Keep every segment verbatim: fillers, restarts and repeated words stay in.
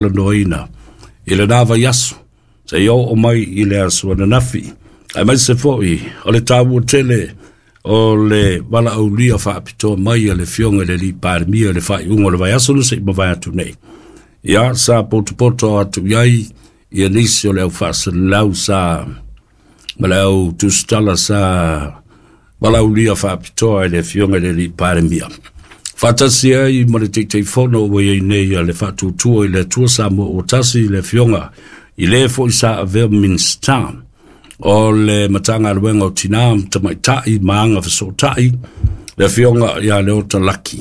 Talanoaina i lena vaiaso seia oo mai i le aso ananafi, aemaise foi o le taua tele o le valaaulia faapitoa mai a le Afioga i le Alii Palemia i le faaiuga o le vaiaso na se i mavae atu nei. Ia, sa potopoto atu i ai ia nisi o le au faasalalau sa ma le au tusitala sa valaaulia faapitoa i le Afioga i le Alii Palemia, faatasi ai ma le Taitaifono ua i ai nei a le Faatuatua i le Atua Samoa ua Tasi, le Afioga i le foi sa avea Minisita o le Matagaluega o Tinā ma Tamaitai ma Agafesootai, le Afioga ia Leota Laki.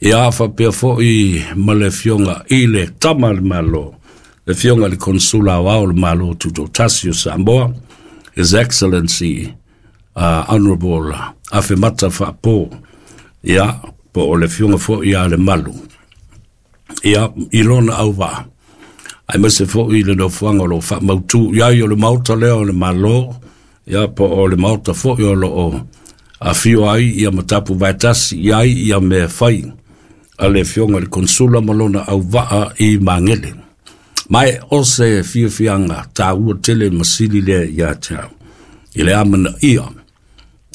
Ia, faapea foi ma le Afioga i le Tama a le Malo, le Afioga i le Konesula Aoao o le Malo Tutoatasi o Samoa, His Excellency uh, Honorable Afemata Faapo, ia, po o le Afioga foi ia Lemalu, ia, i lona auvaa, aemaise foi le nofoaga o lo o faamautu i ai o le Maota lea o le Malo, ia, po o le Maota foi o lo o afio ai ia ma tapu vaetasi i ai ia mea fai a le Afioga i le Konsula ma lona auvaa i Magele. Ma e o se fiafiaga taua tele ma sili lea ia te au i le amanaia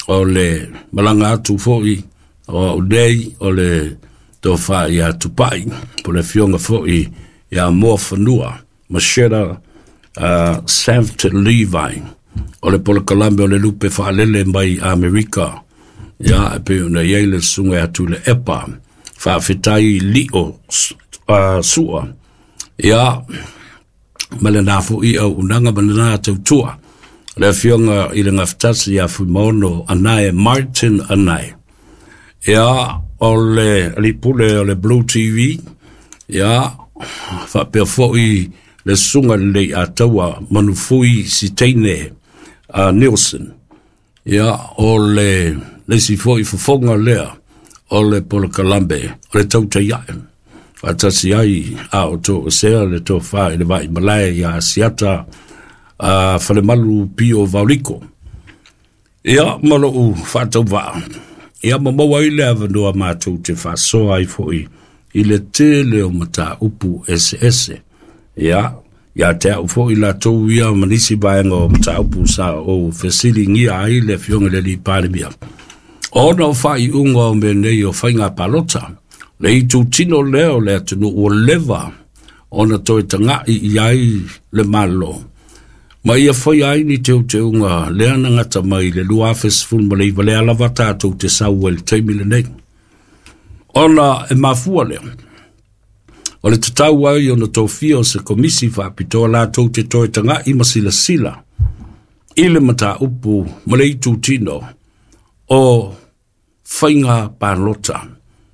o le malaga atu foi o au nei o le tofa ia Tupai, po le Afioga foi ia Moafanua Macheta uh, Saft Levi, o le polokalame o le lupe faalele mai Amerika, ia, e pei ona i ai le susuga ia Tuilaepa Faafetai Lio uh, Sua, ia, ma lena foi auaunaga ma lena tautua, le Afioga i le Gafatasi ia Fuimaono Anae Martin Anae, ia, o le alii pule o le Blue T V, ia, faapea foi le susuga lelei ataua Manufui Siteine uh, Nielsen, ia, o le le isi foi fofoga lea o le polokalame o le Tautai Ae, faatasi ai a o toesea le tofa i le Vaimalae ia Asiata uh, Falemalu Pio Vauliko, ia, ma lou faatauvaa, ia, ma maua ai le avanoa matou te faasoa ai foi i le tele o mataupu eseese, ia, ia te au foi latou ia ma nisi vaega o mataupu sa ou fesiligia ai le Afioga i le Alii Palemia, ona o faaiuga o mea nei o faiga palota, le itutino lea o le atunuu ua leva ona toe tagai i ai le Malo ma ia faia ai ni teuteuga lea na gata mai le lua afe sefulu ma iva, lea lava tatou te sau ai le taimi lenei, ona e mafua lea o le tatau ai ona tofia o se komisi faapitoa latou te toe tagai ma silasila i le mataupu ma le itutino o faiga palota,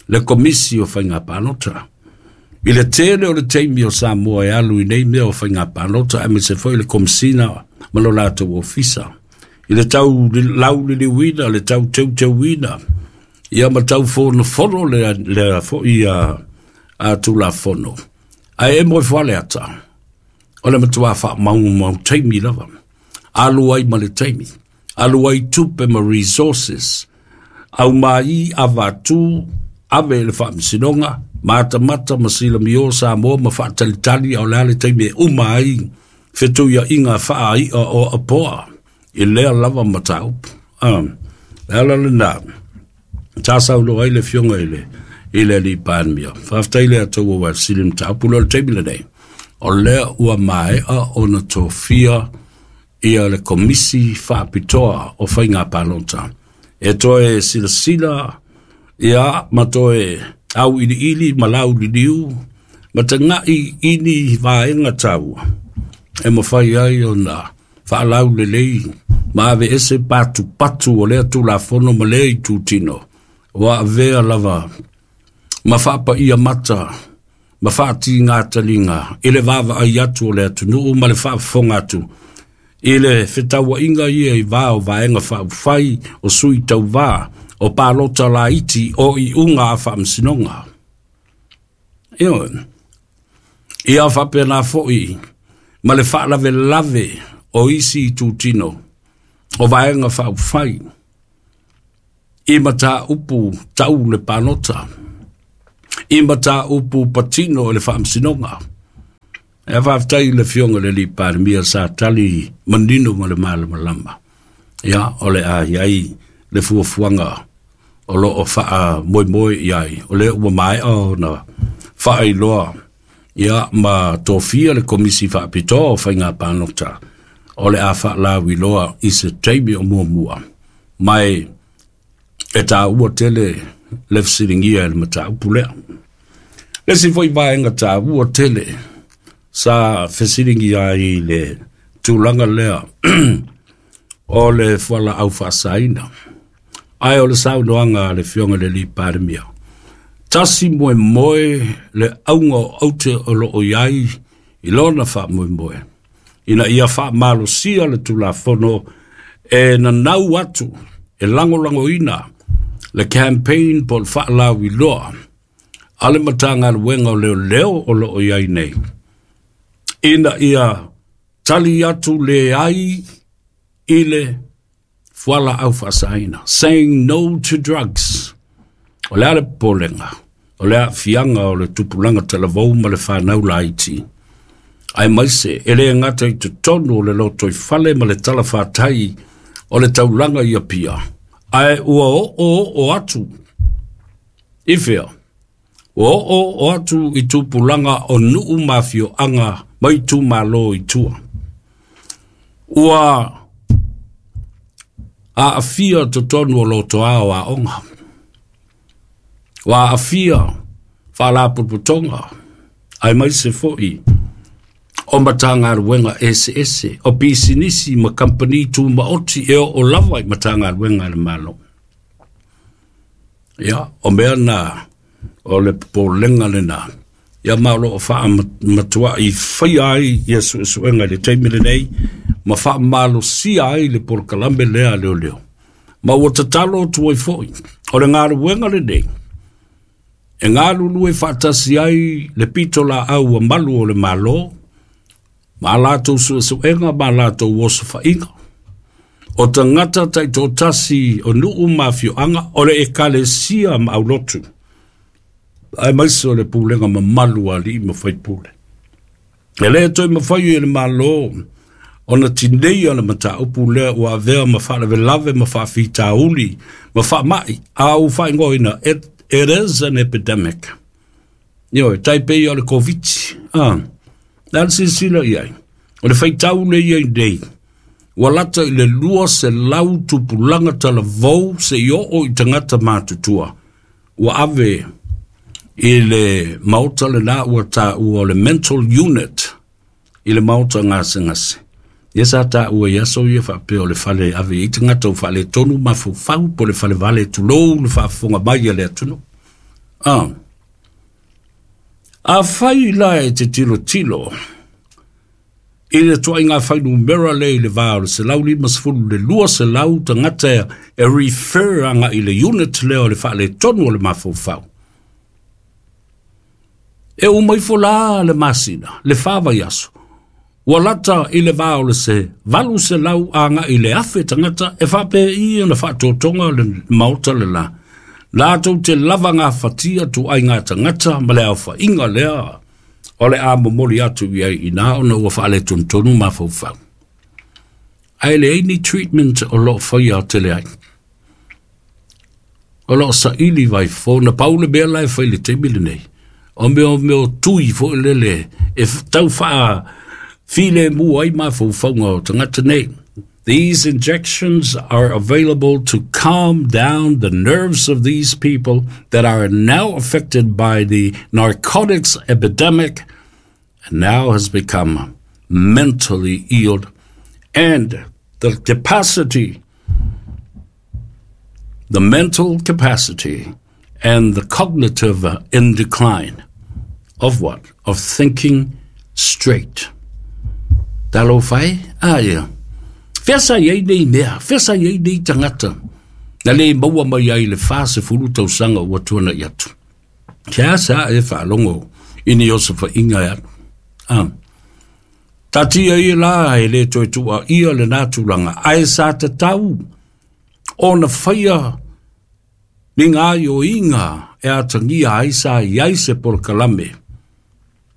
le komisi o faiga palota. I le tele o le taimi o Samoa e alu i nei mea o faiga palota, aemaise foi le komisina ma lo latou ofisa i le tau lauliliuina, le tau teuteuina, ia, ma tau fonofono le, le foi a, a Tulafono. Ae e moe foale ata, o le matua faamaumau taimi lava. Alu ai ma le taimi. Alu ai tupe ma resources. Au mai avatu, ave le faamasinoga, matamata ma silamio Samoa ma faatalitali ao le a le taimi e uma ai fetuiaiga faai'a o apoa i lea lava mataupu. Ah, le ala lena sa saunoa ai le Afioga i le i le Alii Palemia. Faafetai le Atua ua fesili mataupu lea o le taimi lenei. O lea ua maea ona tofia ia le komisi faapitoa o faiga palota e toe silasila, ia, ma toe auiliili ma lauliliu ma tagai i ni vaega taua e mafai ai ona faalaulelei ma aveese patupatu o lea Tulafono ma lea itutino ua avea lava ma faapaia mata ma faatigātaliga i le vaavaai atu o le atunuu ma le faafofoga atu i le fetauaiga ia i va o vaega faaupufai o sui tauvā o palota laiti o iuga a faamasinoga. Ioe. Ia faapena foi ma le faalavelave o isi itutino o vaega faaupufai i mataupu tau le palota, i mataupu patino i le faamasinoga. E faafetai i le Afioga i le Alii Palemia sa tali manino ma le malamalama. Ia, o le a i ai le fuafuaga o loo faamoemoe i ai, o lea ua maea ona faailoa, ia, ma tofia le Komisi Faapitoa o Faiga Palota, o le a faalauiloa i se taimi o muamua. Mai e taua tele le fesiligia e le mataupu lea. Le isi foi vaega taua tele sa fesiligia ai le tulaga lea o le fualaau faasaina. Ae o le saunoaga a le Afioga i le Alii Palemia, tasi moemoe le auga o aute o loo i ai i lona faamoemoe, ina ia faamalosia le Tulafono e nanau atu e lagolagoina le campaign po o le faalauiloa a le Matagaluega o Leoleo o loo i ai nei, ina ia tali atu leai i le fualaau faasaina, saying no to drugs. O le a le popolega o le aafiaga o le tupulaga talavou ma le fanau laiti, aemaise e le gata i totonu o le lotoifale ma le talafatai o le taulaga i Apia, ae ua oo oo atu i fea? Ua oo oo atu i tupulaga o nuu ma afioaga ma itumalo i tua. Ua aafia totonu o lotoa o aoga, ua aafia faalapotopotoga, aemaise foi o Matagaluega eseese, o pisinisi ma kamupani tumaoti e oo lava i Matagaluega a le Malo. Ia, o mea na o le popolega lena, ia, ma o loo faamatuai faia ai ia suesuega i le taimi lenei ma faamalosia ai le polokalame lea a leoleo. Ma ua tatalo atu ai foi, o le galuega lenei e galulue faatasi ai le pitolaau a malu o le Malo ma latou suesuega ma latou osofaiga o tagata taitoatasi o nuu ma afioaga, o le ekalesia ma aulotu, aemaise o le pulega mamalu a alii ma faipule. E le toe mafai e le Malo ona tineia le mataupu lea ua avea ma faalavelave ma faafitauli ma faamai a ua faaigoaina, it, it is an epidemic. Ioe, tai pei o le Covid. Ah, le a le silasila i ai? O le faitau le ia i nei, ua lata i le lua selau tupulaga talavou seia oo i tagata matutua ua ave i le maota lena ua taua o le mental unit i le maota gasegase. Ia, sa taua i aso ia faapea o le fale ave i tagata ua faaletonu mafaufau po o le falevale, tulou le faafofoga mai a le atunuu. Ah. Afai la e te tilotilo i le tuaiga fuainumera lea i le va o le selau lima sefulu le lua selau tagata e refer agai i le unit lea o le faaletonu o le mafaufau, e uma ifo la le masina, le fa vaiaso, ua lata i le va o le se valu selau agai i le afe tagata e faapei ona faatotoga le maota le la latou te lava gafatia tuaiga tagata ma le aofaiga lea o le a momoli atu i ai ina ona ua faaletonutonu mafaufau. Ae leai ni treatment o loo faia tele ai. O loo saili vaifo na pau le mea la e fai i le taimi lenei. O mea o mea o tui foi lele e tau faa filemu ai mafaufauga o tagata nei. These injections are available to calm down the nerves of these people that are now affected by the narcotics epidemic and now has become mentally ill, and the capacity, the mental capacity and the cognitive in decline of what? Of thinking straight. Talofa e? Ah, yeah. Fea sa i ai nei mea, fea sa i ai nei tagata, na le maua mai ai le fa sefulu tausaga ua tuanai atu. Kia sa e faalogo i ni osofaiga e alu. Ah. Tatia ia la e le toe tua ia le nā tulaga, ae sa tatau ona faia ni gaoioiga e atagia ai sa i ai se polokalame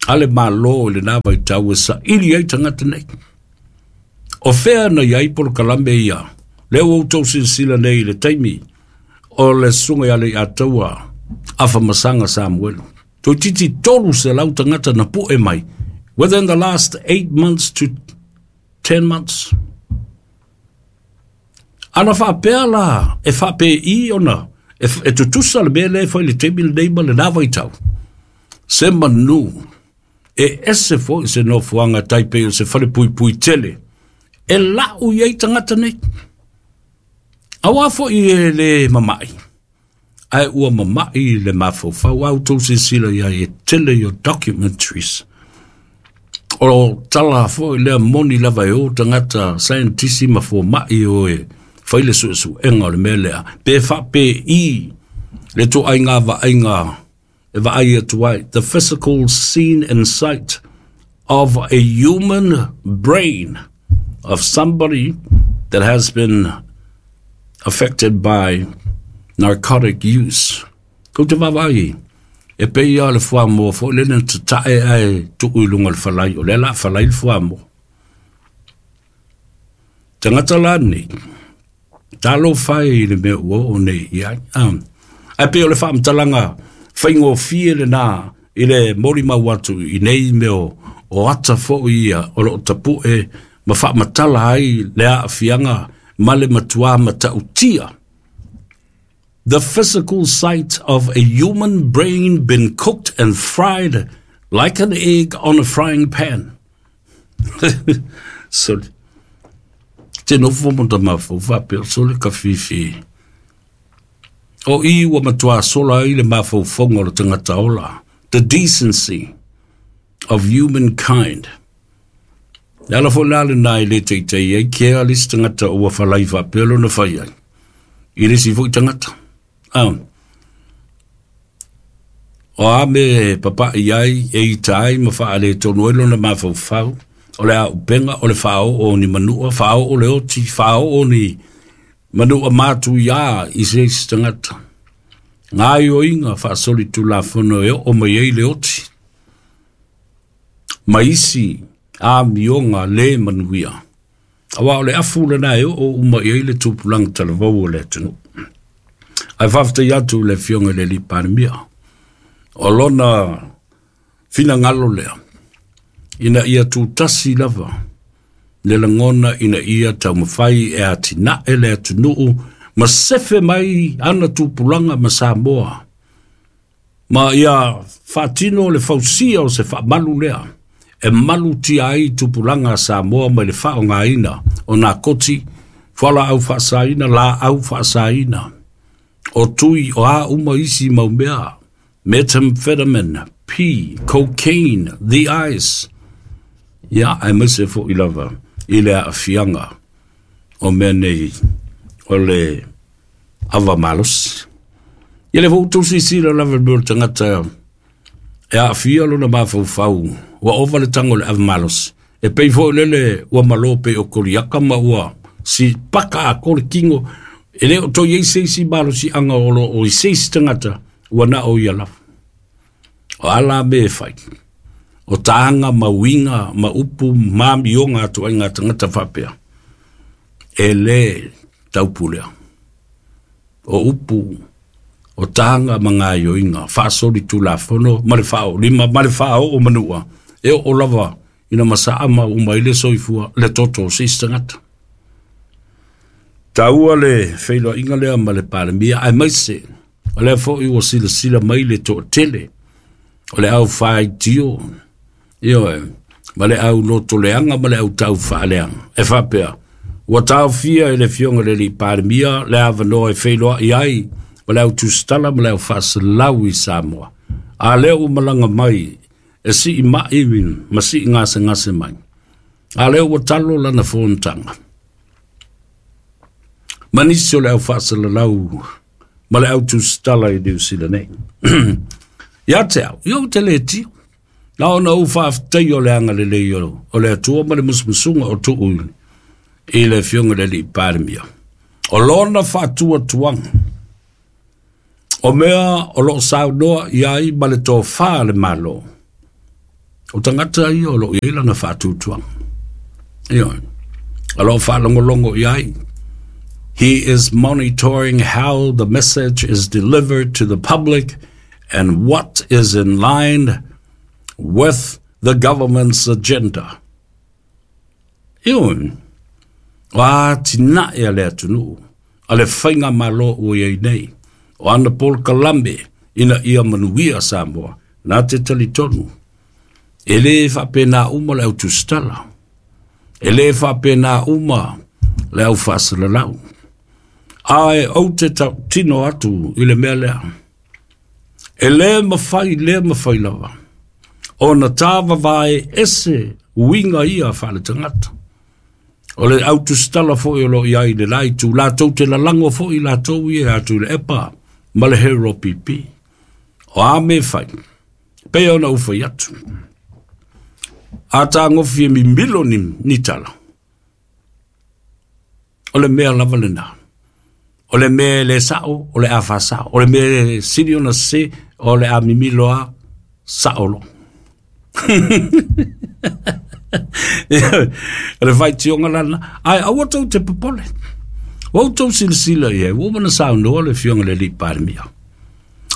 A le Malo i lena vaitau e saili ai tagata nei. O fea na i ai polokalame ia, lea ua outou silasila nei i le taimi o le susuga ia Leiataua Afamasaga Samuelu. Toeitiiti tolu selau tagata na pu'e mai within the last eight months to ten months. Ana faapea la e faapei ona e, e tutusa le mea lea e fai i le taimi lenei ma lena vaitau. Se manu e ese foi se nofoaga tai pei o se falepuipui tele e la'u i ai tagata nei. Auā foi e lē mama'i, ae ua mama'i le mafaufau. A outou silasila i ai e tele i o documentaries. O tala foi lea moni lava e o tagata saienitisi ma foma'i o e fai le su'esu'ega o le mea lea. Pe fa'apē'i le to'aiga va'aiga e vaai atu ai, the physical scene and sight of a human brain of somebody that has been affected by narcotic use. Kou te vaavaai, e pei lava o le fuamoa foi lea na tata'e ae tuu i luga o le falai, o lea la a falai le fuamoa. Tagata la nei, talofa e i le mea ua oo nei i ai. Ae pei o le faamatalaga faigofie lenā i le molimau atu i nei mea o ata foi ia o lo o tapu'e ma faamatala ai le aafiaga ma le matuā matautia. The physical sight of a human brain been cooked and fried like an egg on a frying pan. Sole. Te nofo mo ta mafau faapea sole ka fifi. O i ua matuā sola ai le mafaufauga o le tagata ola. The decency of humankind. Le ala foi la lenā e le teitei ai kea le isi tagata ua falai faapea lona fai ai i le isi foi tagata. Ah. O a mea e papa'i ai, e ita ai ma faaletonu ai lona mafaufau, o le auupega, o le faaoo o ni manua, faaoo le oti, faaoo ni manua matuiā i se isi tagata. Gaoioiga faasolitulafono e oo mai ai le oti ma isi amioga lē manuia, auā o le afu lenā e oo uma i ai le tupulaga talavou o le atunuu. Ae faafetai atu i le Afioga i le Alii Palemia, o lona finagalo lea, ina ia tutasi lava le lagona ina ia taumafai e atina'e le atunuu ma sefe mai ana tupulaga ma Samoa, ma ia faatino le fausia o se faamalu lea e malutia ai tupulaga a Samoa mai le faaaogaina o nakoti, fualaau faasaina, laau faasaina, o tui o a uma isi mau mea, methamphetamine, P, cocaine, the ice, ia aemaise foi lava i le aafiaga o mea nei o le ava malosi. Ia lea foi ua outou silasila lava i le mea o le tagata e aafia lona mafaufau ua ova le tago o le ava malosi. E pei foi lele ua malo pei o Koliata ma ua si paka atoa le tino, e le o toe i ai se isi malosiaga o lo o i se isi tagata ua na o ia lava. O a la mea e fai? O taga ma uiga ma upu ma amioga atu ai ngā tagata faapea, e lē taupulea. O upu, o taga ma gaoioiga faasolitulafono ma le faaoolima ma le faaoo manua, e oo lava ina masaa ma uma ai le soifua le toto o se isi tagata. Taua le feiloaiga lea ma le Palemia, aemaise o lea foi ua silasila mai le toatele o le au faitio, ioe, ma le au lotoleaga ma le au taufaaleaga, e faapea, ua taofia e le Afioga i le Alii Palemia le avanoa e feiloai ai ma le au tusitala ma le au faasalau i Samoa. A lea ua malaga mai e sii ma'i ma sii gasegase mai. A lea ua talo lana fonotaga ma nisi o le au faasalalau ma le au tusitala i Niu Sila nei. Ia te au, ia ou te le tio. Na ona ou faafetai o le agalelei o le Atua ma le musumusuga o tuu i le Afioga i le Alii Palemia. O lona faatuatuaga, o mea o lo o saunoa i ai ma le tofa a le Malo, O tagata ia o loo iai lana faatuatuaga. Ioe, o loo faalogologo i ai. He is monitoring how the message is delivered to the public and what is in line with the government's agenda. Ioe, o atinae a le atunuu, a le faigamālō ua iai nei, o ana polokalame ina ia manuia Samoa, na te talitonu. E lē faapenā uma le au tusitala. E lē faapenā uma le au faasalalau. Ae ou te tautino atu i le mea lea. E lē mafai, lē mafai lava ona tāvavae ese uiga ia faaletagata. O le au tusitala foʻi o loo iai le la itu latou te lalago foʻi latou ia atu i le epa ma le Hero P P. O a me fai, pei ona ou fai atu. A tagofi e mimilo ni, ni tala. O le mea lava lenā. O le mea le sao, o le a faasao. O le mea sili ona se, o le a mimilo a sao lo. O le faitioga lana, ae aua tou te popole. Ua outou silasila i ai, ua uma ona saunoa le afioga i le alii Palemia.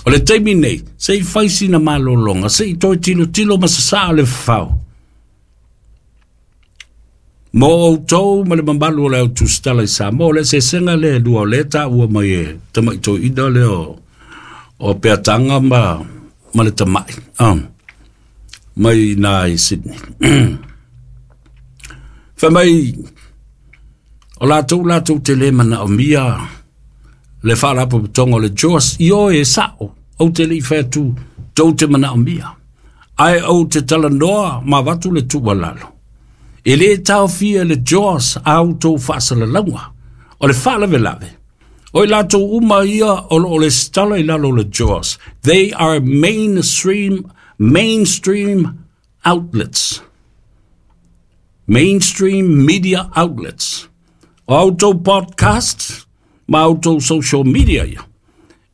O le taimi nei, se i fai sina malologa, se i toe tilotilo ma sasaa le fafao. Mo outou ma le mamalu o le au tusitala i Samoa, o le eseesega lea e lua o lea e taua mai e tamaʻi toeaina lea o, o Peataga ma, ma le tamaʻi um, mai nā i Sydney. Fai mai, o latou latou te lē manaomia le faalapotopotoga o le J O S. Ioe, e sao, ou te leʻi fai atu tou te manaomia. Ae ou te talanoa ma avatu le tuualalo. E lē taofia le J O S a outou faasalalauga. O le faalavelave, o i latou uma ia o loo lesitala i lalo o le J O S. They are mainstream, mainstream outlets. Mainstream media outlets. O outou podcast ma outou social media ia.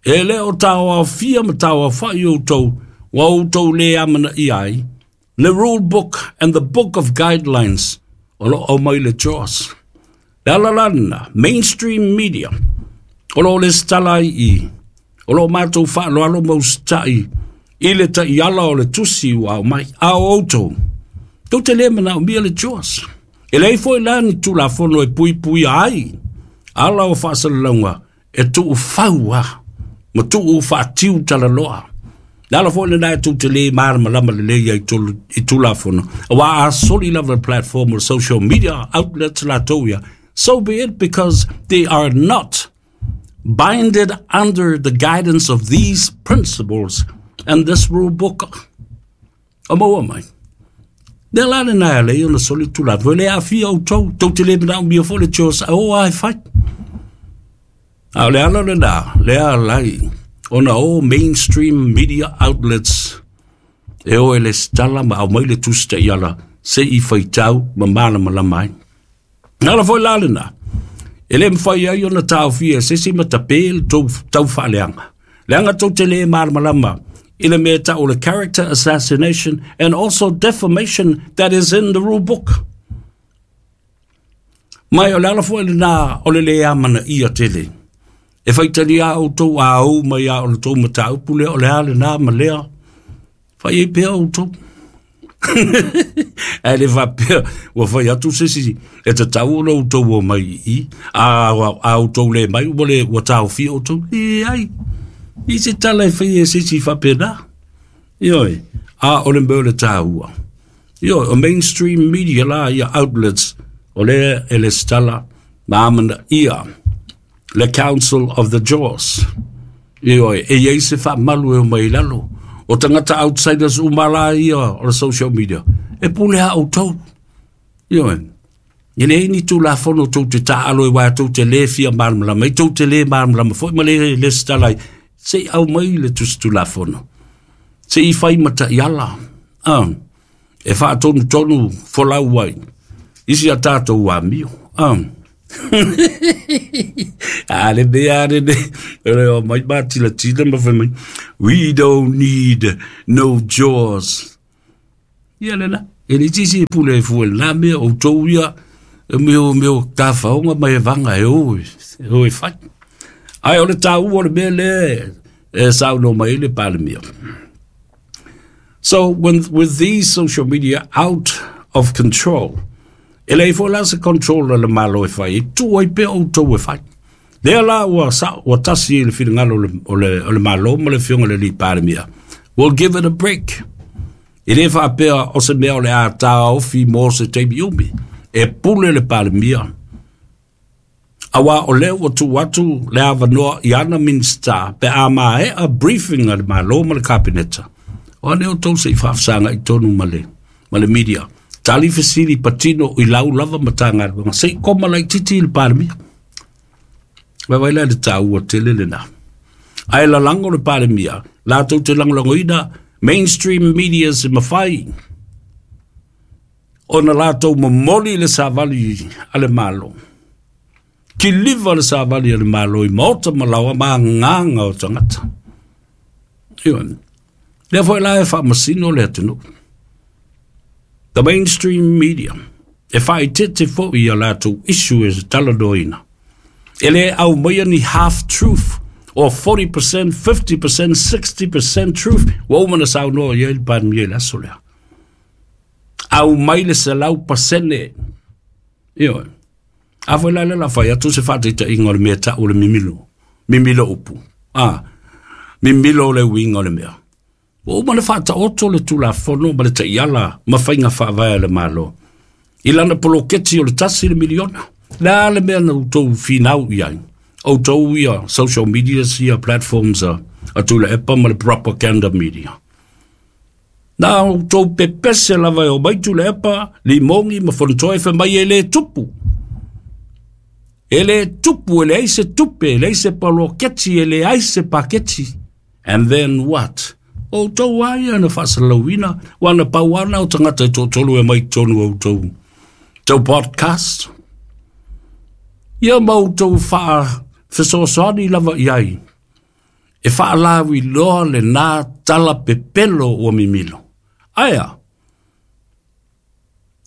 E lē o taoaofia ma taoafaʻi outou ua outou lē amanaia ai le rule book and the book of guidelines o loo aumai le J O S. Le ala lana, mainstream media, o loo lesitala ai i, o loo matou faaloalo ma usitaʻi i le taiala o le tusi ua aumai. A o outou, tou te lē manaomia le J O S. E leai foʻi la ni tulafono e puipuia ai ala o faasalalauga e tuufau a ma tuu faatiu talaloa. Le ala foʻi lenā e tou te lē malamalama lelei ai i tulafono. Auā a soli lava le platform o social media outlets latou ia, so be it, because they are not binded under the guidance of these principles and this rule book. O maua mai. Le la le nai le ona soli tulafono. Le aafia outou, tou te lē manaomia foʻi le J O S, o ai fai. A o le ala lenā, le alai, ona o mainstream media outlets e o e lesitala ma aumai le tusi taiala se i faitau ma malamalama ai. Na ala foi la lenā, e lē mafai ai ona taofia se isi ma tapē le tou tau faaleaga. Leaga tou te lē malamalama i le mea tau le character assassination and also defamation that is in the rule book. Mai o le ala foi lenā o le lē amanaia tele. E faitalia outou a ou mai a o le tou mataupu lea o le a lenā ma lea. Fai ai pea outou. Ae le faapea ua fai atu se isi e tatau ona outou o mai i a, a outou lē mai ua le ua taofia outou. Leai. I se tala e fai e se isi faapena. Ioe, a o le mea o le tāua. Ioe, o mainstream media la ia outlets o lea e lesitala ma amanaia le Council of the J O S. Ioe, e iai se faamalu e o mai lalo. O tagata outsiders uma la ia o le social media. E pule a outou. Ioe, e leai ni tulafono tou te taaalo e uā tou te lē fia malamalama. I tou te lē malamalama foʻi ma le lesitala ai. Se i aumai le tusi tulafono. Se i fai ma taiala. Ah, e faatonutonu folau ai isi a tatou amio. Ah. A le mea le le o mai matilatila ma fai mai, "We don't need no J O S." Ia le la. E le tisi e pule e fue la mea o tau ia e meo meo tafaoga ma e vaga e o e o e fai. Ae o le taua o le mea lea e saunoa mai ai le Palemia. So when, with these social media out of control, e leai foi la se control a le Malo e fai, e tuu ai pea outou e fai. Lea la ua, sa, ua tasi i le finagalo o le, o le, o le Malo ma le afioga i le alii Palemia. We'll give it a break. E le faapea o se mea o le a taofi mo se taimi umi. E pule le Palemia. Auā o lea ua tuu atu le avanoa i ana Minisita pe a maea briefing a le Malo ma le Kapeneta. O ane outou se i faafesagai tonu ma le, ma le media. Tali fesili patino i lau lava Matagaluega. Se i koma laitiiti i le Palemia. Vaivai la le taua tele lena. Ae lalago le Palemia, latou te lagolagoina mainstream media se mafai ona latou momoli le savali a le Malo. Kiliva le savali a le Malo i maota ma laoa ma agaga o tagata. Ioe. Lea foi la e faamasino le atunuu. The mainstream media e faaeteete foi ia latou issue e talanoaina. E le aumaia ni half truth or forty percent, fifty percent, sixty percent truth ua uma ona saunoa i ai le Palemia i le aso lea. Aumai le selau pasene. Ioe. A foi la le la fai atu se faataitaiga o le mea tau o le mimilo. Mimilo upu. Ah, mimilo le uiga o le mea. Ua uma ona faataoto le Tulafono ma le Taiala ma faiga faavae a le Malo i lana poloketi o le tasi le miliona. Le a le mea na outou finau i ai? Outou ia social medias ia platforms a, a Tuilaepa ma le propaganda media. Na outou pepese lava e omai Tuilaepa, Limogi ma Fonotoe fai mai e le tupu. E le tupu, e leai se tupe, e leai se poloketi, e leai se paketi. And then what? O outou lava ia na faasalalauina, ua na pau lava na o tagata e toatolu e mai totonu o outou tou podcast. Ia ma outou faafesoasoani lava i ai e faalauiloa lena tala pepelo ua mimilo. Ae a?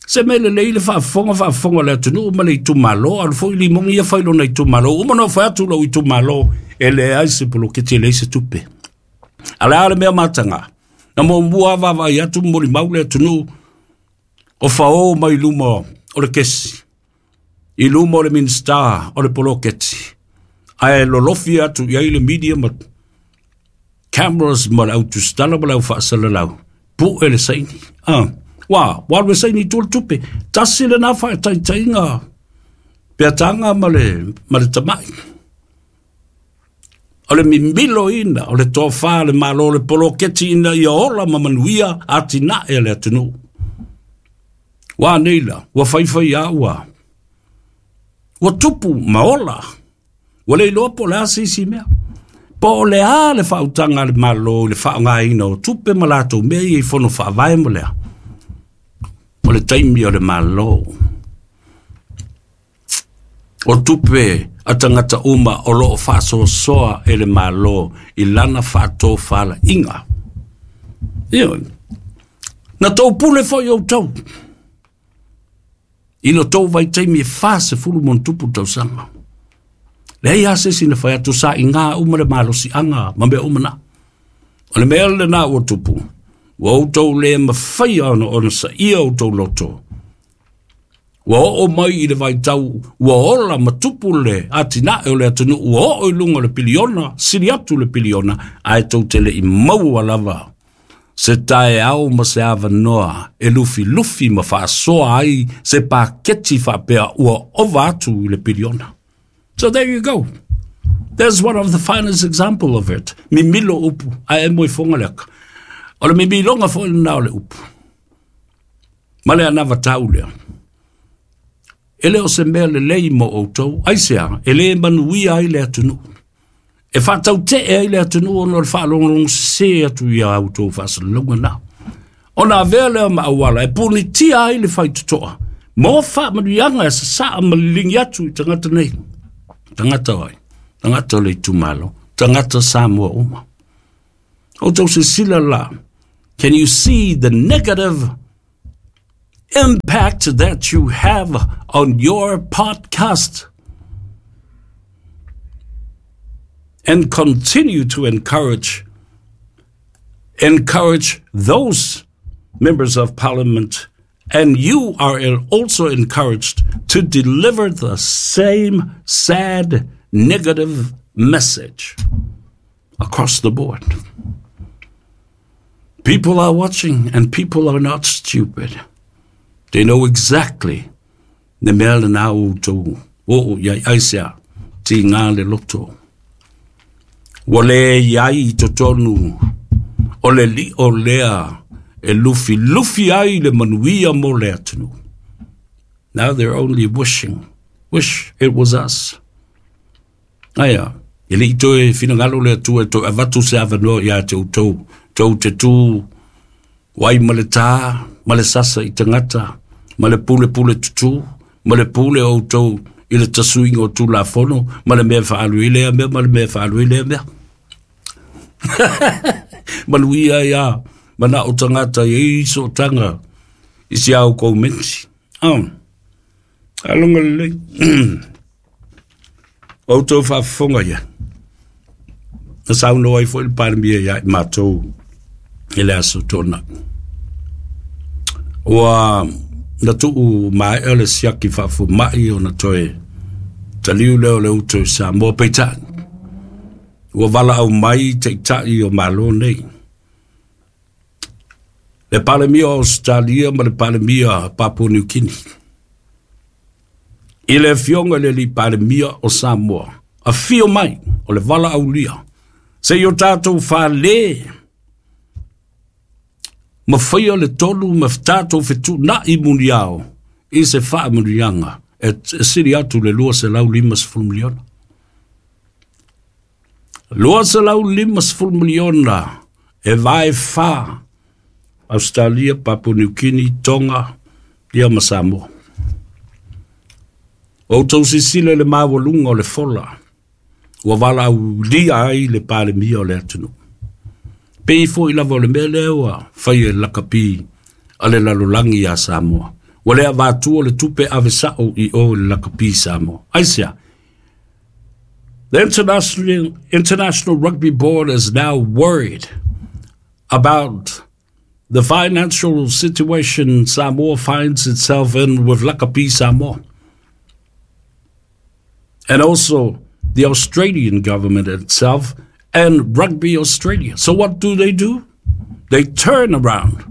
Se mea lelei le faafofoga faafofoga o le atunuu ma le itumalo, alu foi Limogi ia fai lona itumalo. Uma ona fai atu lou itumalo e leai se poloketi, e leai se tupe. A o le a le mea mataga? Na muamua lava vaavaai atu ma molimau le atunuu o fao mai luma o le kesi, i luma o le Minisita o le poloketi, ae lolofi atu i ai le media ma cameras ma le autusitala ma le au faasalalau, pu'e le saini. Ah. Ua, ua alu e saini i tua le tupe. Tasi lena faataitaiga peataga ma le, ma le tama'i. O le mimilo ina, o le tofa le Malo le poloketi ina ia ola ma manuia atinae a le atunuu. Ua nei la, ua faifai a ua. Ua tupu ma ola. Ua le iloa po o le a se isi mea. Po o le a le faautaga a le Malo i le faaaogaina o tupe ma latou mea ia i fono faavae mo lea. O le taimi o le Malo. O tupe a tagata uma o loo faasoasoa e le Malo i lana faatofalaiga. Ioe. Na tou pule foi outou i lo tou vaitaimi e fasefulu ma ona tupu tausaga. Leai lava se isi na fai atu sa iga uma le malosiaga ma mea uma na. O le mea lena ua tupu, ua outou le mafaia ona onosaia outou loto. Ua oo mai i le vaitau ua ola ma tupu le atinae o le atunuu ua oo i luga o le piliona, sili atu le piliona, ae tou te le i maua lava se taeao ma se avanoa e lufilufi ma faasoa ai se paketi faapea ua ova atu i le piliona. So there you go. There's one of the finest example of it. Mimilo upu, ae emo i foga le aka. O le mimiloga foi lena o le upu. Ma le anavatau lea. E le o se mea lelei mo outou, aisea, e le manuia ai le atunuu. E faatautee ai le atunuu ona o le faalogologo sese atu ia outou faasalalauga na. Ona avea lea ma auala e punitia ai le faitotoa mo faamanuiaga e sasaa ma liligi atu i tagata nei. Tagata o ai? Tagata o le itumalo, tagata Samoa uma. Outou silasila la, can you see the negative impact that you have on your podcast and continue to encourage encourage those members of parliament, and you are also encouraged to deliver the same sad negative message across the board. People are watching, and people are not stupid. They know exactly le mea lena outou oo iai aisea tigā le loto. Ua lē iai i totonu o le liʻo lea e lufilufi ai le manuia mo le atunuu. Now they're only wishing, wish it was us. Aia, e leʻi toe finagalo le Atua e toe avatu se avanoa iā te outou, tou te tū ai ma le tā, ma le sasa i tagata, ma le pulepule tutū, ma le pule o outou i le tasuiga o Tulafono, ma le mea faaalu i lea mea, ma le mea faaalu i lea mea. Manuia ia, mana o tagata i sootaga i si au koumenti. Oh. Aloga lelei. Outou faafofoga ia. Na saunoa ai foi le Palemia ia i matou i le aso Toonai. Ua na tuu maea le siaki faafomaʻi ona toe taliu lea o le uto i Samoa peitai. Ua valaau mai taʻitaʻi o Malo nei. Le Palemia o Australia ma le Palemia Papua New Guinea. I le afioga i le alii Palemia o Samoa. Afio mai o le valaaulia. Se i o tatou falē ma faia le tolu ma tatou fetuunaʻi muniao i se faamanuiaga e sili atu le lua selau lima sefulu miliona. Lua selau lima sefulu miliona e vae fā Australia, Papua New Guinea, Tonga, ia ma Samoa. O outou silasila i le maualuga o le fola ua valaaulia ai le Palemia o le atunuu. Pei foi lava o le mea lea ua faia e le lakapi a le lalolagi iā Samoa. Ua le avatua le tupe ave saʻo i o i le lakapi Samoa. Aisea? The International, International Rugby Board is now worried about the financial situation Samoa finds itself in with Lakapi Samoa. And also the Australian government itself and Rugby Australia. So what do they do? They turn around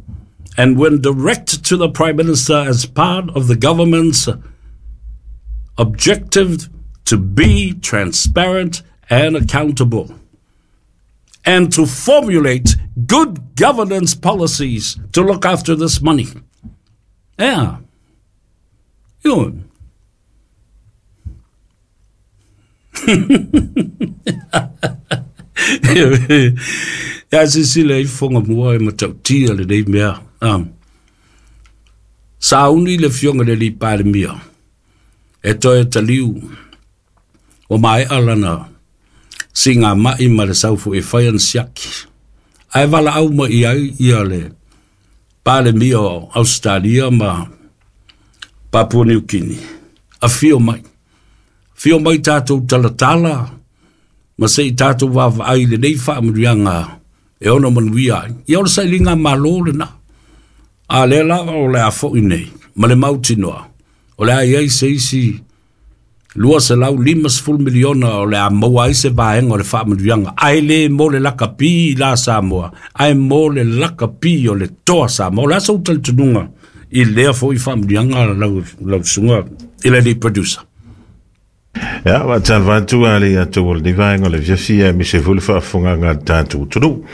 and went direct to the Prime Minister as part of the government's objective to be transparent and accountable and to formulate good governance policies to look after this money. Yeah. Yun. Ia silasila i fofoga mua e matautia lenei mea. Um. Sauni le afioga i le alii Palemia e toe taliu ua maeʻa lana sigamaʻi ma le saufoʻi e fai ana siaki. Ae valaau mai i ai ia le Palemia o Australia ma Papua New Guinea. Afio mai. Afio mai tatou talatala ma se i tatou vaavaai i lenei faamanuiaga e ono manuia ai. Ia o le sailiga malo lena. A lea lava o le a foʻi nei ma le mautinoa. O le a iai se isi lua selau lima sefulu miliona o le a maua ai se vaega o le faamanuiaga. Ae lē mo le lakapi i la Samoa, ae mo le lakapi o le Toa Samoa. O le a sou talitonuga i lea foi faamanuiaga lau, lau susuga i le alii producer? Ia, faatalofa atu a le atou o lenei vaega o le afiafi aemaise foi le faafofogaga a le tatou atunuu.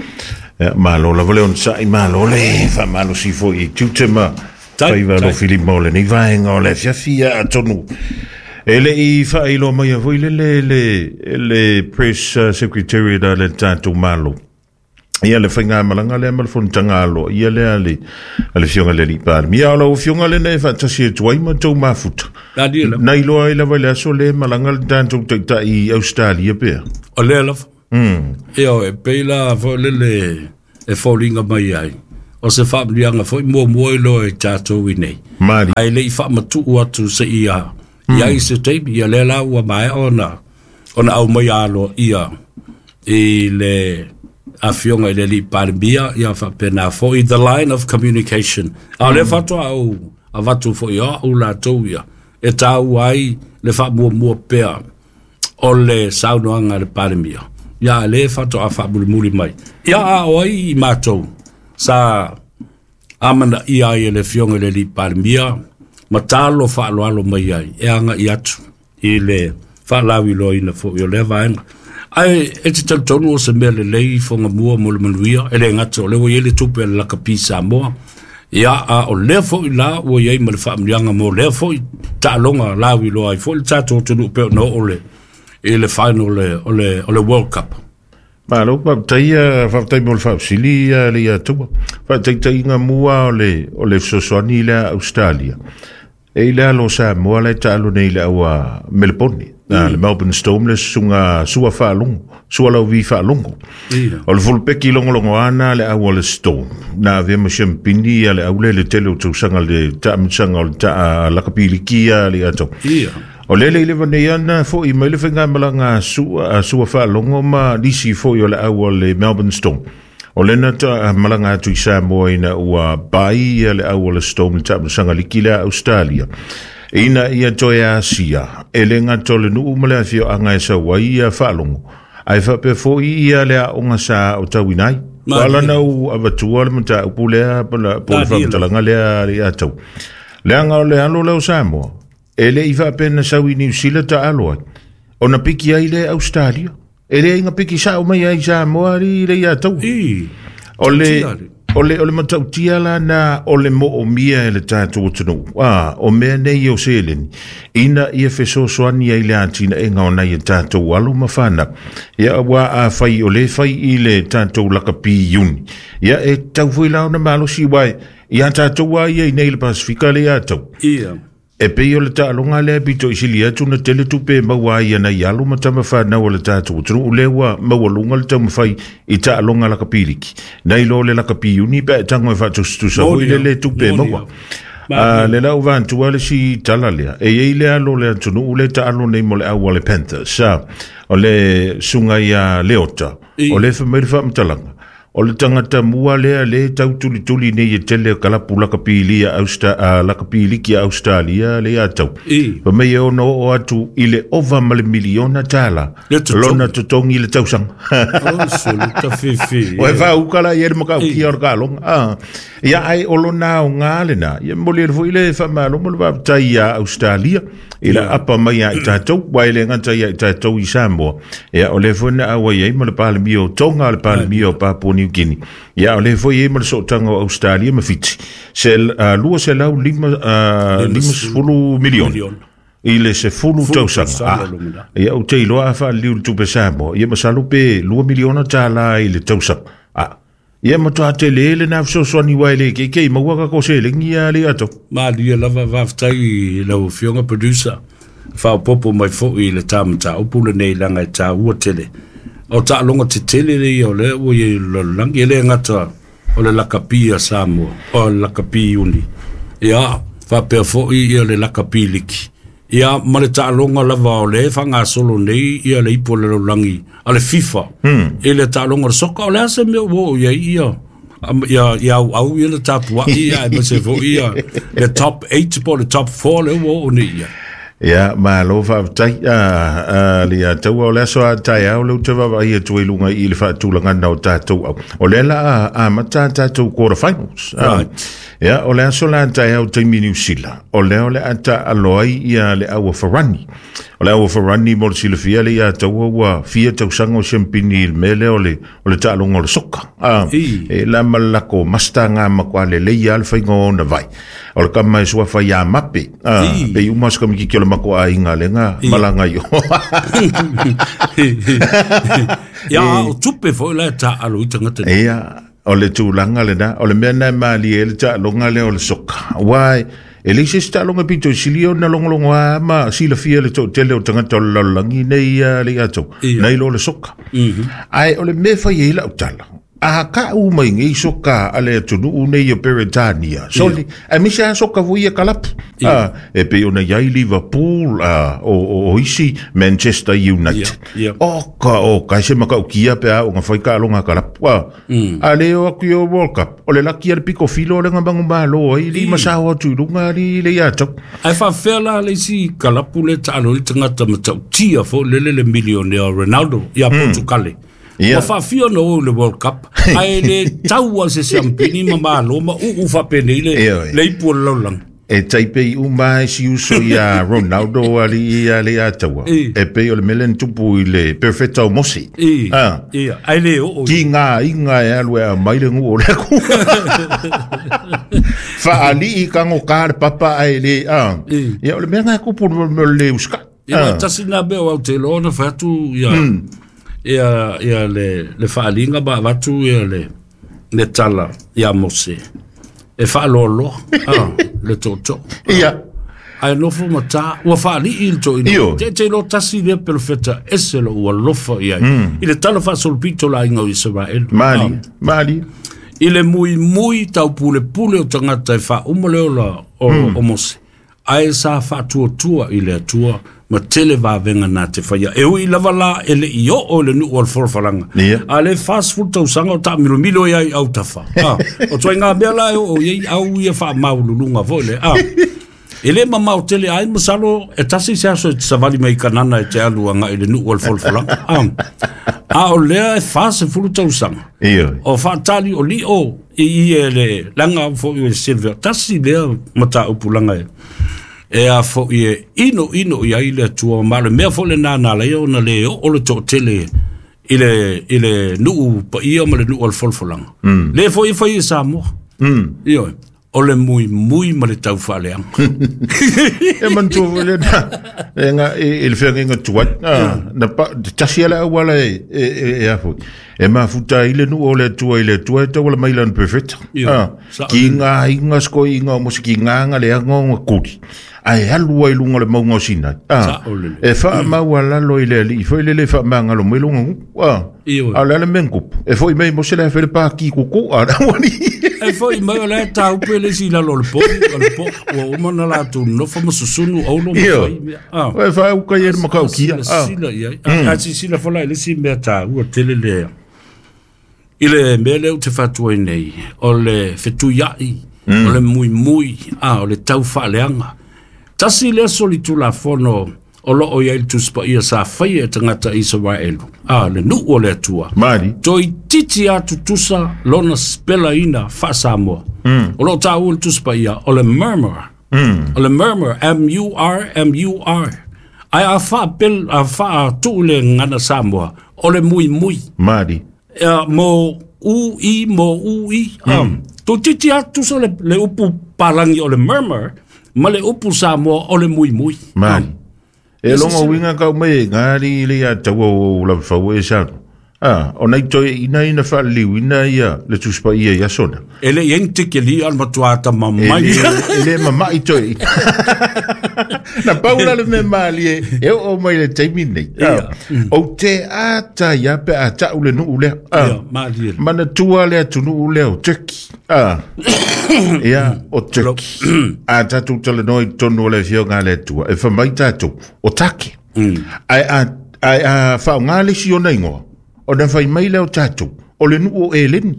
Ia, malo lava le onosai, malo le faamalosi foi i tiute ma faiva alofilima o lenei vaega o le afiafi. Ia, atonu e le i faailoa maia foi le le le le press secretariat a le tatou Malo. Ia le faigamalaga lea ma le fonotaga aloaia lea a le a le Afioga i le Alii Palemia. O lau Afioga lena e faatasi atu ai ma tou mafuta. Na iloa ai lava i le aso lea e malaga le tatou taitai i Ausetalia pea. O lea lava. Mm. Ia e pei la foi lele e foliga mai ai. O se faamanuiaga foi muamua i loa i tatou i nei. Ae le'i faamatu'u atu se'ia mm. iai se taimi, ia lea la ua maea ona ona aumaia aloa'ia i le afioga i le Alii Palemia, ia faapena foi the line of communication. A o lea faatoa ou avatu foi o a'u latou ia e tāua ai le faamuamua pea o le saunoaga a le Palemia. Ia lea faatoa faamulimuli mai. Ia a o ai i matou sa amanaia ai e le afioga i le Alii Palemia ma talo faaaloalo mai ai e aga'i atu i le faalauiloaina foi o lea vaega. Ae e te talitonu o se mea lelei fogamua mo le manuia, e le gata o lea ua iai le tupe a le lakapi Samoa. Ia a o lea foi la ua iai ma le faamanuiaga mo lea foi taaloga lauiloa ai foi le tatou atunuu pei ona oo le i le final o le, o le World Cup. Malo, faafetai faafetai mo le faafesili le iatua. Faataitaiga mua o le o le fesoasoani lea Australia. E i le alo Samoa le taalo nei le aua Melbourne. Mm. Le Melbourne Storm le susuga sua faalogo, sua lauvi faalogo. O le fulupeki logologo ana le aua le Storm. Na avea ma siampini ia le aule le tele o tausaga le taamisaga o le taa lakapiliki ia le ato. O lele i le vanei ana fo'i mai le faigamalaga sua, sua faalogo ma nisi fo'i o le aua le Melbourne Storm. O lena ta malaga atu i Samoa ina ua pai ia le aua le Storm le taamisaga liki lea Australia. Ina ia toe asia, e le gato le nuu ma le afioaga e sau ai ia faalogo. Ae faapea fo'i ia le aoga sa o tauina ai. Alana u avatua le mataupu lea po le faamatalaga lea le atau. Leaga o le alo lea o Samoa, e le i faapena sau i Niu Sila taalo ai. Ona piki ai le Australia. E le inga piki sao mai ai Samoa li le atau. O le o le o le matautia la na o le mo'omia e le tatou atunuu. Ah, o mea nei o seleni. Ina ia fesoasoani ai le atinaega o nai e tatou alo ma fanau. Ia ua a fai o le fai i le tatou lakapi iuni. Ia e tau foi la ona malosi wai. Ia tatou ai ia i nei le Pasifika le atau. Ia. E pei o le taaloga lea pito i sili atu na tele tupe maua ai ana i alo ma tama whanau o le tatou atunuu lea ua maualuga le taumafai i taaloga lakapiliki. Nei lo le lakapi iuni pe e tago e faatusatusa foi le le tupe maua. A le lau vantua le si tala lea. E iai le alo le atunuu le taalo nei mo le aua le Panthers. Sa o le suga ia Leota. O le whamai le faamatalaga. O le tangata mua lea le tau tulituli nei e tele o kalapu lakapilia Austa, uh, lakapiliki Australia le atau. Pa mei e ono o atu i le ova ma le miliona tala. Lona totongi le tausaga. O sulu tafifi. O e whaukala i e le makau kia o le kalonga. Ah. Ia ai o lona o ngā le nā. Ia moli e foi le whamalo mo le waptai ia Australia. I la apa mai a i tātou, wai le ngata ia i tātou i Samoa. Ia o le foi na awa iai ma le palemia o Tonga, le palemia o Papua New Guinea. Ia o le foi e ma le sootanga o Australia ma Fiti. Se uh, lua se lau lima, uh, lima sefulu milioni. I le sefulu tausaga. Ah, ia o te iloa a whaaliu le tupe Samoa. Ia masalo pe lua miliona tāla i le tausaga. Ah. Ia matua te le le na fesoasoani wai le ke ke maua ka ko se lengi ia le ato. Malia lava faafetai i lau afioga producer. Faaopopo mai foi i le tamataupu lenei laga e tāua tele. O taaloga tetele leia o lea ua iai lalolagi e le gata o le lakapi a Samoa, o le lakapi iuni. Ia faapea foi ia le lakapi liki. Ia ma le taaloga lava o le faagasolo nei ia le ipu o le lalolagi a le FIFA. Hmm. I le taaloga o le soka o le a se mea ua oo iai ia ia ia auau ia le tapua'i ia aemaise foi ia le top eight po o le top four le ua oo nei ia. Ia, malo faafetai a le ataua o le aso a taeao le uta vaavaai atu ai luga i le faatulagana o tatou au. O lea la a amata tatou quarter finals. Right. Ia, o le aso la taeao taimi Niu Sila. O lea o le a taalo ai ia le aua Farani. O le aua Farani mo le silafia le ia ataua ua fia tausaga o siampini i le mea lea o le o le taaloga o le soka. Ah, e la ma le lako mastaga ma kwa lelei a le faiga o ona vai. O le kama e suafa ia mape. Ah, pe uma se kamikiki o le mako aiga lenga malaga i o. Ia o tupe foi la e taalo i tagata nei. Ia, o le tulaga lena, o le mea na e malie ai le taaloga lea o le soka. Uae, e leai se isi taaloga pito i sili ona logologo a ma silafia le to'atele o tagata o le lalolagi nei ia le iatou, Ia. nei lo le soka. Ae o le mea e fai ai lau tala, A ka u mai ngi soka ale tunu nei o Peretania. Soli a misa soka voi kalapu. A e pe ona iai Liverpool a o o isi Manchester United. O ka o ka se maka ukia pe a o nga fai ka longa kalapu. A le o ku yo World Cup. O le laki al piko filo le ngamba malo ai li masawa tu lunga li le ia tok. Ai fa fela le si kalapu le talo le tangata matautia fo le le millionaire Ronaldo ia Portugal. Yeah. Ma faafia na o le World Cup ae le taua se siampini ma malo ma uu faapene i le le ipu o le laulaga e taipei uma si uso ia Ronaldo ali ia le ataua e pei o le mele tupu i le perfecto mosi ah ia ai le o ki ngā inga e alu e mai le ngu o le ku faali i kango ka le papa ai le ah ia o le mea ngā kupu mo le uska ia tasi na be o te lona fatu ia ia ia le le faalinga ba vatu ia le le tala ia Mose e faalolo ah le toto ia ai no fu mata ua faali il to ino te te lo tasi le perfecta ese lo ua lofa ia i le tala fa solpito la inga Israel mali mali i le mui mui tau pule pule o tangata e fa umale ola o o Mose ai sa faatuatua i le Atua ma tele vavenga na te whaia. E ui lava la e le i o o le nuu o le forofalanga. A le fast food tausaga o ta milo milo iai au tafa. Ah, o toi ngā mea la e o iai au ia wha maululunga voi le. Ah, e le mamau tele ai masalo e tasi se aso e te savali mai kanana e te alu anga i le nuu o le forofalanga. Ah, a o lea e fast food tausaga. O whaatali o li o i i e le langa fo i e Silver. Tasi lea mata upulanga e. E a fo i e ino ino i ai le atua ma le mea fo le nānā le ona le o le to'atele i le, i le nuu paia ma le nuu o le folfolanga. Mm. Le fo i fai e Samoa. Mm. Ioe. O le mui mui ma le tau whaaleanga. E mantua le na, e nga, e le whenga tuat, na pa, tasi ala awala e, e, e a fo. E mafuta i le nuu o le atua i le atua e tau ala mailan perfect. Ki ngā inga sko inga o mosi ki ngā ngā le anga o ngā kuri. Ai alu ai lunga le maunga o Sinai. E wha maua lalo i le ali, i fo i le le wha maanga lo mai lunga ngu. A le ale menkupu. E fo i mei mose le whele pā ki kuku, a la wani. E fo i mai o le taupe le si lalo le po, le po, ua umana la tu nofa masusunu aulo ma fai mea. E wha uka i e makau kia. Sila i ai. A si sila fola i le si mea tā ua tele lea. I le mea leo te whatua i nei, o le whetuiai, o le mui mui, o le tau whaaleanga. Tasi le solitu la fono o lo o ia il tuspa ia sa whai e tangata Israelu. Ah, le nuu o le atua. Mari. Toi titi atu tusa lona spela ina fa Samoa. Mm. O lo tā ua le tuspa ia o le murmur. Mm. O le murmur, M U R M U R. Ai a wha pel, a wha tu le ngana Samoa. O le mui mui. Mari. Uh, mo u i, mo u i. Mm. Um, toi titi atu tusa le, le upu palangi o le murmur. Ma le upu Samoa o le mui mui. Mari. E longa winga kau mai ngari le ia taua o la fau e sa. Ah, o nei toi ina ina fa liu ina ia le tuspa ia ia sona. E le ente ke li al matuata mamai. E le mamai toi. Na paula le me mali e o mai le taimi nei. O te ata ia pe ata u le nuu lea. Ia, mali. Mana tua le atu nuu lea o Turkey. Ah. Ia, o Turkey. A tatu tale noi tonu le fioga le tua. E whamai tātou, o take. Ai a ai a whaonga le si ona ingoa. O na whai mai leo tātou. O le nuu o eleni.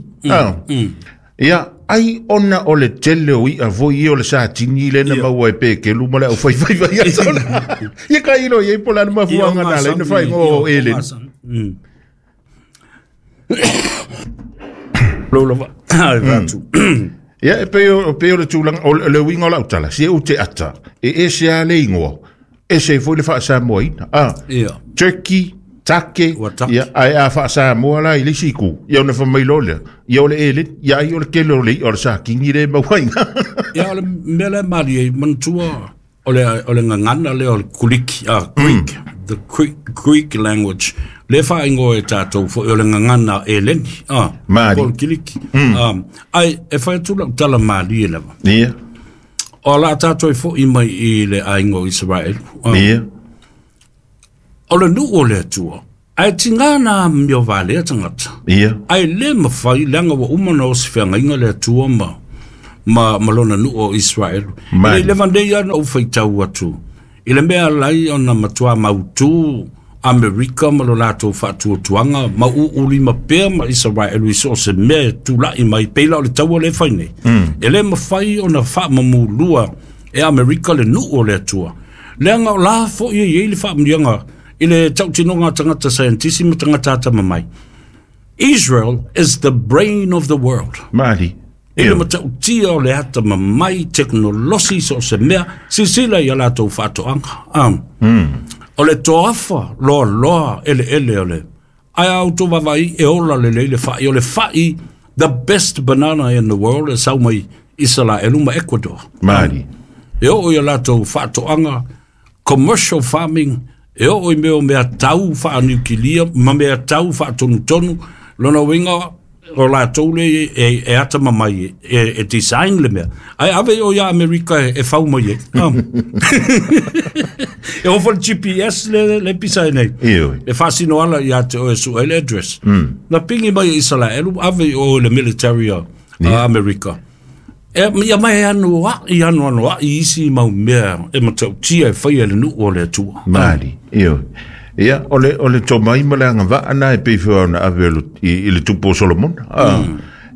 Ia, ai ona o le tele o ia voi i o le sātini le na maua e peke luma le au whai whai whai a sona. Ia ka ilo i pola na mafuanga nā le na whai ngo o eleni. Lolo ai vatu. Ia e pe o pe o le tūlanga o le winga o lautala si e u te ata e e se a le ingoa e se foi le whaasamoa ina. Ah, Turkey, take, ia ai a whaasamoa la i le siku ia ona whamailo lea ia o le ele ia ai o le kele o le o le sākingi le mauainga. Ia o le mele mali e mantua o le o le ngangana le o le kuliki, ah, Greek, the Greek, Greek language. Le whaingo e tātou fo o le ngangana e leni, ah, Mali. O le kiliki. Um, ai, e whai tula tala mali e lava. Ia. O la tātou e fo i mai i le aingo Israel. Ia. O le nuu o le atua, Ae tigā na amio valea tagata. Ia. Ae lē mafai leaga ua uma na osifeagaiga le Atua ma ma ma lona nuu o Israelu. Mai. I le leva nei ana ou faitau atu i le mea alai ona matuā mautū Amerika ma lo latou faatuatuaga ma u'ulima pea ma Isaraelu i so o se mea e tula'i mai pei la o le taua lē fai nei. E lē mafai ona faamamulua e Amerika le nuu o le Atua. Leaga o la fo'i e iai le faamuniaga i le tautinoga a tagata scientisi ma tagata atamamai. Israel is the brain of the world. Mali. I le matautia o le atamamai teknolosi so o se mea, sisila ia latou faatoaga. Um. O le toafa loaloa eleele o le. Ae a outou vavaai e ola lelei le fa'i. O le fa'i, the best banana in the world, e sau mai Isalaelu ma Ecuador. Mali. E oo ia latou faatoaga, commercial farming, e oo i mea o mea tau faaniukilia ma mea tau faatonutonu, lona uiga o latou le e, e atamamai e, e design le mea. Ae ave o ia Amerika e, e fau mai e. Um. E ofo le G P S le, le pisa e nei. Ioe. E faasino ala ia te oe su le address. Na pingi mai e Isalaelu, ave o le military a, a Amerika. E, ia mai anu a, i anu anu a, i isi mau mea e matautia e whai e le nuu o le Atua. Mali. Ioe. Ia, o le, o le tomai ma le agavaa na e pei foi ona ave lo- i, i le tupu o Solomona. Ah.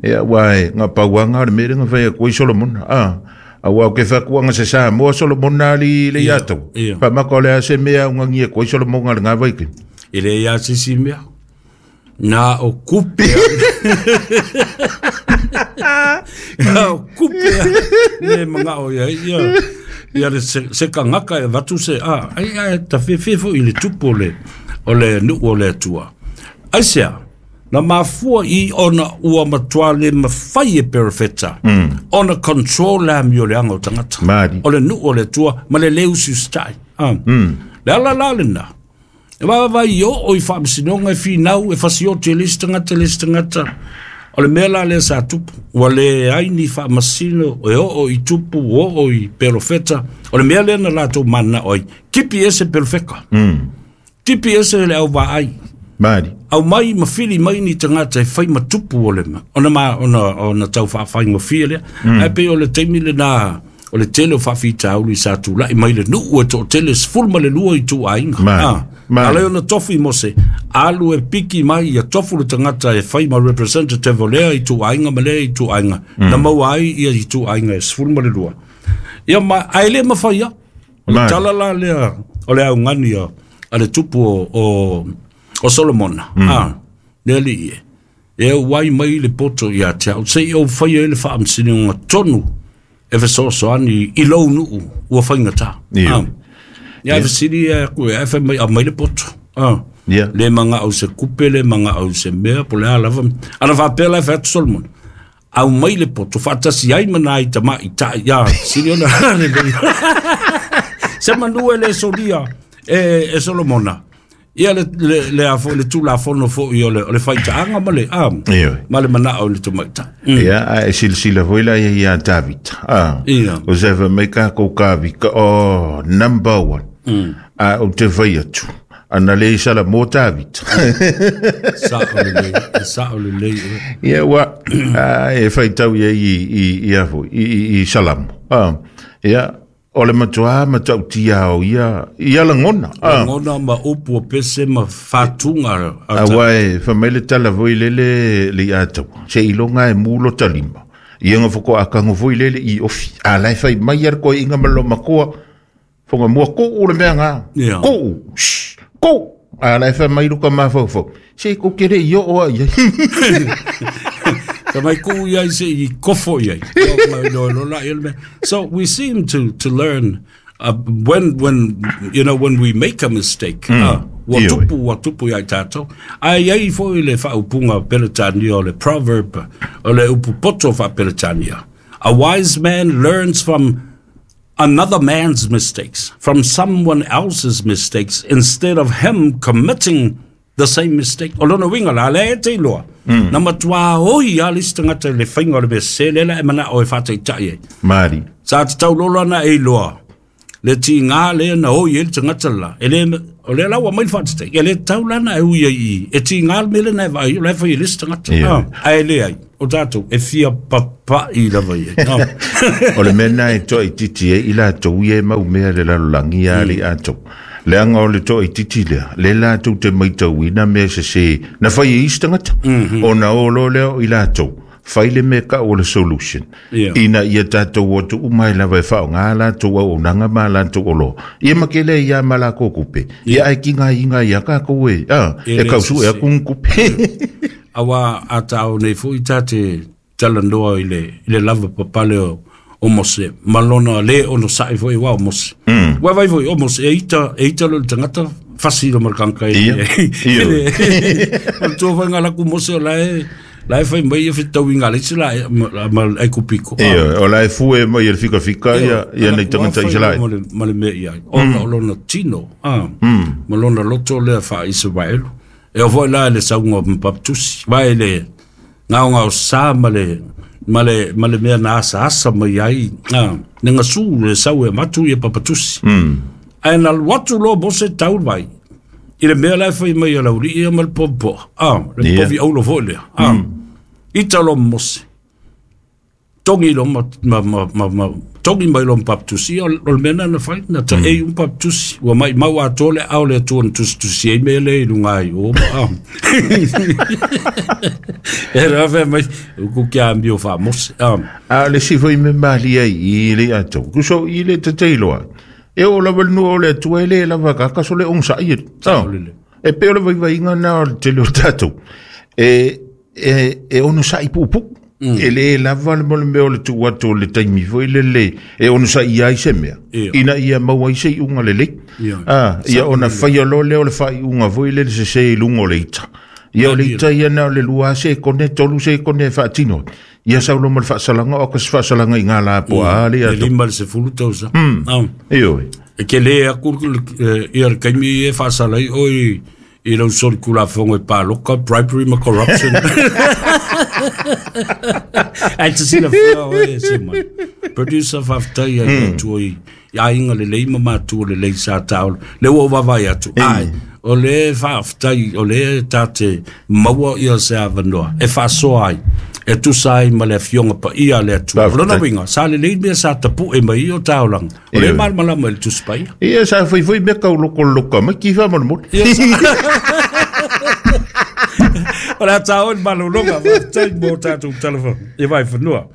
Ia, ua e ngā pauanga o le mere ngā whai a koe Solomona. Ah. A ua o ke whakuanga se sa moa Solomona li le iatou. Ia. Wha maka o le ase mea ungangia koe Solomona le ngā vaike. E le ia sisi mea. Na o kupe. Na o kupe. Ne manga o ia ia. Ia le se, se kangaka e vatu se a. Ai ai ta fefe fo i le tupu o le o le nuu o le Atua. Ai sea, na mafua i ona ua matua le mawhai e perefeta. Mm. Ona control la mi o le anga o tangata. Mali. O le nuu o le Atua ma le leu sustai. Ah. Mm. Le ala la le na. E vai vai o o i whaamisinoga e whinau e fasioti e le isi tagata le isi tagata. O le mea la lea sa tupu. Ua le ai ni faamasino e oo i tupu, o oo i perofeta. O le mea lea na latou mananao ai. Tipi ese perofeka. Mm. Tipi ese le au vaai. Mali. Au mai ma fili mai ni tagata e fai ma tupu o le ma. Ona ma, ona, ona tau whaawhaingofie lea. Mm. Ai pei o le taimi le na, o le tele o faafitauli sa tula'i mai le nuu e to'atele sefulu ma le lua i tu'aiga. Mali. Ah. Mali. Ale ona tofu i Mose alu e piki mai ia tofu le tagata e fai ma representative o lea i tu'aiga ma lea i tu'aiga mm. na maua ai ia i tu'aiga e sefulu ma le lua ia ma ae lē mafaia o le Mali. tala la lea o le augani a a le tupu o, o, o Solomona mm. ah, le alii e e auai mai le poto ia te au se'i ou faia ai le faamasinoga tonu e fesoasoani i lou nuu ua faigatā. Ia. Ah. Ia e fesili e aku e ae mai aumai le poto. Ah. Ia. Le maga'au se kupe, le maga'au se mea, po le a lava. Ana faapea la e fai atu Solomon. Au mai le poto, faatasi ai ma nai tama'i ta'i. Ia, sili ona. Se manu e le solia e, e Solomona. Ia le, le, le, a fo, le tulafono fo'i o le, o le faitaaga ma le, ah, Ioe. ma le mana'o i le tamaita. Mm. Ia, a e silasila foi la ia ia David. Ah. Ia. O se fa mai ka ko kavi ka oh number one. Mm. A o te fai atu. Ana le sala mo David. Sa o le lei, sa o le lei. Ia ua a, e faitau ia i i i a foi i i, i Salamo. Ah. Ia o le matua matautia o ia ia lagona. Ah. Ngona ma upu o pese ma fātuga. A wa e fa mai le tala foi lele le ia tau. Se ilonga e mulo talima. Ia nga foko akango foi lele i ofi. A lai fai mai ar ko inga malo makoa. Fonga mua ko u le mea ngā. Ia. Ko u. Shh, Ko. A lai fai mai luka mafau Se ko kere i o a ia. Ka mai ku ia i se i kofo ia. No, no, no, no. So we seem to to learn uh, when when you know when we make a mistake. Mm. Uh, ua Ioe. tupu ua tupu ia i tātou. Ai ai foi le faaupuga Peretania o le proverb o le upu poto faa-Peretania. A wise man learns from another man's mistakes, from someone else's mistakes, instead of him committing the same mistake. O lona uiga la lea e te iloa. Mm. Na matuā oi a le isi tagata i le faiga o le mea sese lea la e mana'o e faataita'i ai. Mari. Sa tatau lolo ana e iloa. Le tigā lea na oi ai le tagata la. E le O le la ua mai le faatatei e le tatau lana e ui ai i e tiga le mea lena e vaai o la e fai e le isi tagata ae leai o tatou e fia papa'i lava i ai. O le mea lena e toaitiiti ai i latou ia e maumea le lalolagi ia alii atou leaga o le toaitiiti lea le latou te maitauina mea sesē na fai e isi tagata ona o loa lea o i latou fai le mea ka'u o le solution ina ia tatou atu uma ai lava e faaaogā latou auaunaga ma latou oloa ia ma kele ia ma lakou kupe ia ae kigaiga ia kakou e a e kausuʻe aku ni kupe. Auā a taʻo nei foʻi tate talanoa i le i le lava papale o o Mose ma lona lē onosaʻi foʻi uā o Mose ua vai foi o Mose e ita e ita lo le tagata fasi lo ma le tagata e o le tua faiga laku Mose o la e la e fai mai e fetauiga le isi la ma ai kupiko. Ia o la e fue mai e le fikafika ia ia nei tagata Isaraele ma le ma le mea i ai ona o lona tino a ma lona loto lea faa-Isaraelu e o foi la le sauga ma papatusi vai le gaogao sa ma le ma le ma le mea na asaasa mai ai a le gasū le sau e matu ia papatusi ae na alu atu loa Mose tau vai i le mea la e fai mai e laulii ia ma le poapoa a le povi aulo foi lea a ita lo Mose togi lo ma ma ma ma togi mai lo papatusi o le mea na fai na taʻei um papatusi ua maʻimau atoa le ao le Atua na tusitusi ai mea le i luga ai o ma e la fai mai ku kia amio faa-Mose a o le isi foi mea malia i le atou kuso i le tateiloa e oo lava le nuu o le Atua e lē lava kakaso le ogosaʻi e pei o le vaivaiga na o le tele o tatou e e e onosaʻi puʻupuʻu e lē lava le mo le mea o le tuu atu o le taimi foi lele e onosaʻi ai se mea ina ia maua ai se iʻuga lelei a ia ona faia loa lea o le faaiuga foi lele sesē i luga o le ita ia o le ita ia na o le lua sekone tolu sekone e faatino ia saulo ma le faasalaga o ka se faasalaga i gala po a le le lima le sefulu tausaga ioe e ke lē aku ia le kaimi e faasalai oi i lau solikulafogo e paloka bribery ma corruption. Ae tasilafia oe se mai producer faafetai ai Atua i aiga lelei ma matua lelei sa taolo le ua ou vaavaai atu ae o le faafetai o le tate maua ia se avanoa e faasoa ai e tusa ai ma le afioga paia a le Atua. O lona uiga sa lelei mea sa tapuʻe mai i o taolaga o le malamalama i le Tusi Paia. Ia sa faifai mea kaulokoloka mai kifa molemole. O le a taʻo i le malologa faafetai mo tatou tala i vaifanua.